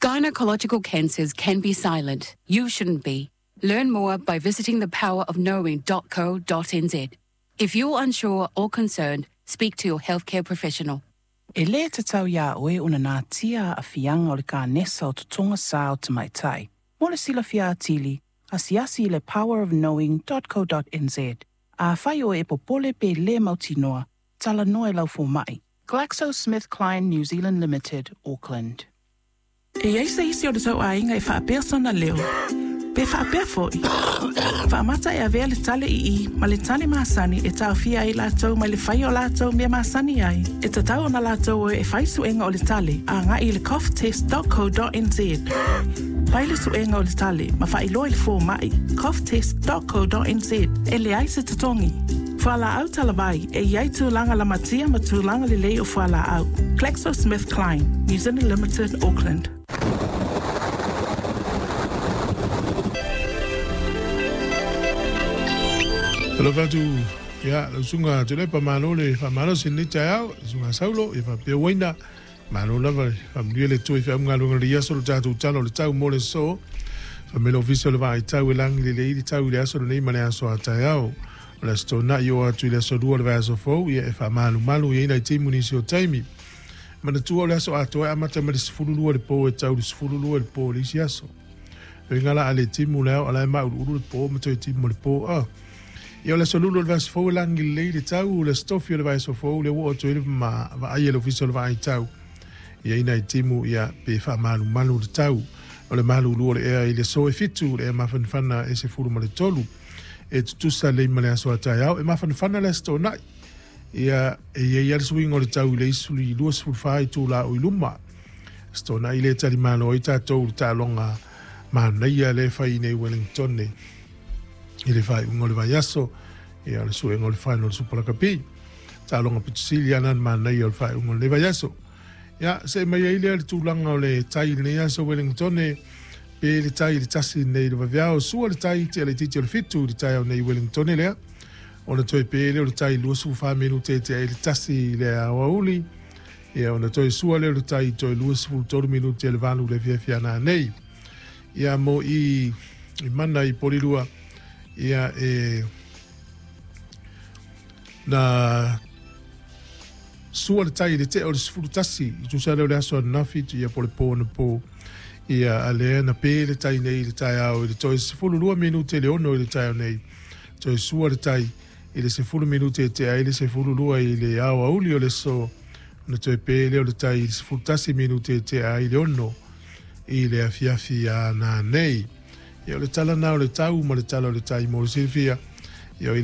Gynecological cancers can be silent. You shouldn't be. Learn more by visiting thepowerofknowing.co.nz. If you're unsure or concerned, speak to your healthcare professional. E lē tatau iā oe ona natia aafiaga o le kanesa o totoga sā o tamaitai. Mo le silafia atili, asiasi i le powerofknowing.co.nz. Afai oe e popole pe lē mautinoa, talanoa i lau fomaʻi. GlaxoSmithKline New Zealand Limited, Auckland. E i ai se isi o le tou aiga e faapea sona leo, pe faapea foi. Faamata e avea le tale ii ma le tale masani e taofia ai latou mai le faia o latou mea masani ai. E tatau ona latou o e fai suega o le tale agai i le coughtest.co.nz. Fai le suega o le tale ma faailoa i le fomaʻi coughtest.co.nz e leai se totogi. Fualaau talavai e i ai tulaga lamatia ma tulaga lelei o fualaau. GlaxoSmithKline, New Zealand Limited, Auckland. Alofa atu ia lau susuga Tuilaepa, malo le faamalosi i lenei taeao, le susuga Saulo, ia faapea Uaina, malo lava le faamanuia le Atua i feau ma galuega o lenei aso, lo tatou tala o le tau mo le aso. Fai mai le Ofisa o le Vaai Tau e lagi lelei le tau i le aso lenei ma le aso a taeao. O le Aso Toonai oo atu i le Aso Lua o le vaiaso fou, ia e faamalumalu i ai nai timu nisi o taimi. Manatua o le aso atoa e amata mai le 12 i le po e tau i le 12 i le po i le isi aso. Uiga la a le timu le ao, a la e mauluulu le po ma toe timu le po a. Ia o le aso lulu o le vaiaso fou e lagi lelei le tau, o le aso tofi o le vaiaso fou lea ua oo atu ai le ma vaai a le Ofisa o le Vaai Tau. Ia i nai timu ia pe faamalumalu le tau. O le malulu o le ea i le aso e 7, le ea mafanafana e 13. E tutusa lelei ma le aso a taeao, e mafanafana le aso toonai. Ia, e i ai lava le suiga o le tau i le isi 24 itula o i luma. Aso Toonai lea e talimalo ai tatou i le taaloga manaia lea e fai i nei Wellington i le faaiuga o le vaiaso, ia o le suega o le final o le Super Lakapi. Taaloga pito sili lava na manaia o le faaiuga o lenei vaiaso. Ia, see mai ai lea le tulaga o le tai i lenei aso Wellington, pe le tai i le 1 nei i le vaveao, sua le tai tea laitiiti o le 7 i le taeao nei i Wellington lea. Ona toe pe lea o le tai 24 minute tea i le 1 i le aoauli. Ia, ona toe sua lea o le tai toe 23 minute le 8 i le afiafi a nanei. Ia, mo i i mana i Porirua, ia e na sua le tai i le tea o le 11 i tusa lea o le aso ananafi ia po le po anapo. Ia, a lea na pe le tai nei i le taeao i le toe 12 minute le 6 i le taeao nei. Toe sua le tai i le 10 minute e tea ai le 12 i le aoauli o le aso, ona toe pe lea o le tai i le 11 minute e tea ai le 6 i le afiafi a nanei. Ia o le tala na o le tau ma le tala o le tai mo le silafia. Ia o i